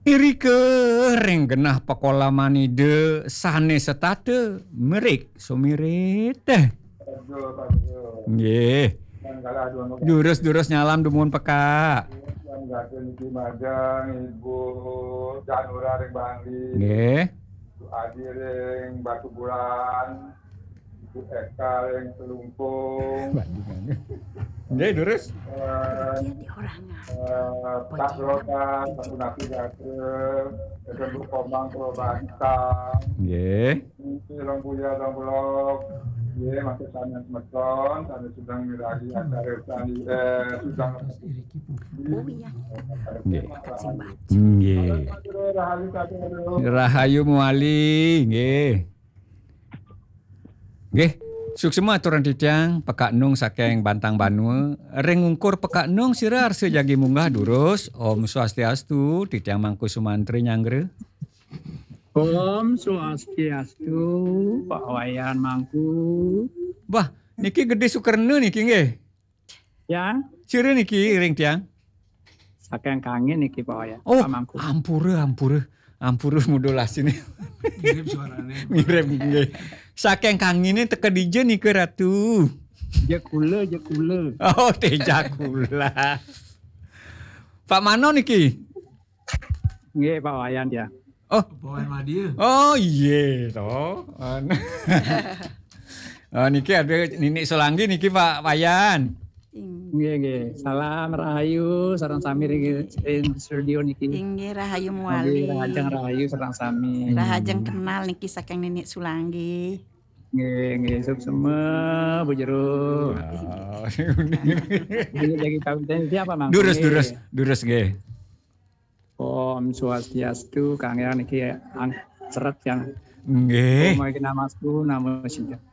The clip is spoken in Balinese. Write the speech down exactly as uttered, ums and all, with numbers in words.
Irika ring genah pakolaman Ida sané setata, merik sumirit. Nggih. Durus-durus nyalam dumun pekak. Niki majeng Ibu Janura ring Bangli. Nggih. Ibu Adi ring Batubulan. Ibu Eka ring Telungkung. Nggih, durus. Eh, Dia di orang eh, Pak Roda, Pak Gunapi Gatra, Ibu Komang Purwabasa. Nggih. Niki Rong Buya, Rong Bulog. Nggih, masih sanes semeton, sanes sedang miragi acara tani, eh, sedang Oh iya, nggih. Dekat sing baca. Nggih. Rahayu, Kak Guru. Rahayu Muali, nggih. Nggih. Suksma aturan titiang, Pekak Nung saking Bantang Banua. Ring ungkur Pekak Nung sira arsa jagi munggah durus. Om Swastiastu, titiang Mangku Sumantri nyanggra. Om Swastiastu, Pak Wayan Mangku. Bah, niki Gedé Sukerna niki nggih. Ya. Sira niki ring tiang. Saking Kangin niki, Pak Wayan. Oh, Pak Mangku. Ampura, ampura. Ampura mudul asine. Mirip suarane. Mirip nggih. Saking Kangine teka dija nika, Ratu? Jekula, Jekula. Oh, Tejakula. Pak Mano niki? Nggih, Pak Wayan ya. Oh. Pak Wayan Madya. Oh, iya to. An-, oh, niki ada Ninik Solanggi niki, Pak Wayan. Nggih, nggih. Salam rahayu sareng sami ring, ring studio niki. Inggih, rahayu Muali. Nggih, rahajeng rahayu sareng sami. Rahajeng kenal niki saking Ninik Sulanggi. Nggih, nggih, suksma, Bu Jero. Ya. Nggih, lagi kawin tadi siapa, Mang? Durus, nggih. Durus, durus nggih. Om Swastiastu, Kang Yang niki ang-, seret yang. Nggih. Om Aiki Namastu, Namo Siddham.